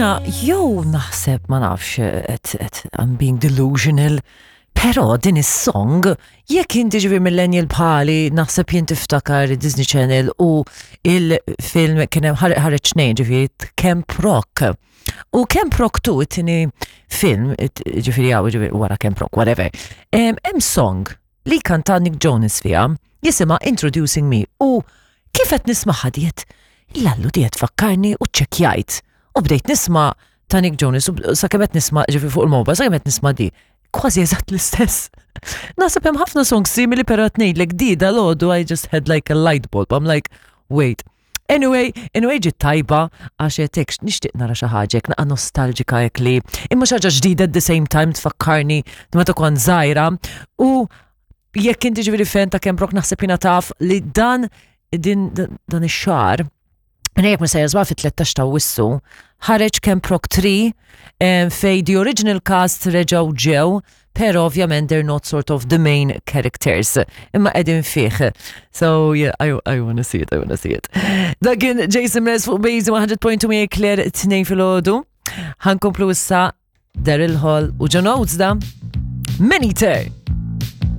Jena jew naħseb ma nafx et I'm being delusional, pero din is-song jekk inti ġifieri millennial bħali naħseb jien tiftakar Disney Channel u il-film kien hemm ħareġ tnejn ġifieri Camp Rock. U Camp Rock 2 it-tieni film, ġifieri hawn ġifieri wara Camp Rock, whatever. Hemm song li kanta Nick Jonas fiha jisimha Introducing Me u kif qed nismaħħa diet l-allu diet fakkarni u ċċekkjajt. U bdejt nisma' ta' Nick Jonas u sakemm qed nisma' ġifieri fuq il-mobile, sakemm qed nisma' di. Kważi eżatt l-istess. Naħseb hemm ħafna songs simili però qed ngħidlek di dal-għodu I just had like a light bulb. I'm like, wait. Anyway, anyway ġiet tajba għax qed nixtieq nara xi ħaġa hekk naqa' nostalġika hekk li imma xi ħaġa ġdida at the same time tfakkarni meta kont żgħira u jekk inti ġifieri fan ta' Camp Rock naħseb jiena taf li dan din dan ix-xahar Jekk mhux sejjer fit-13 ta' Awwissu, ħareġ Camp Rock 3 fej the original cast reġgħu ġew, pero ovvjament they're not sort of the main characters. Imma qegħdin fih. So yeah, I wanna see it, I wanna see it. Dak kien Jason Mraz fuq Base 100.2 Claire 2 filgħodu. Ħankomplu issa Daryl Hall u John Oates da. Maneater!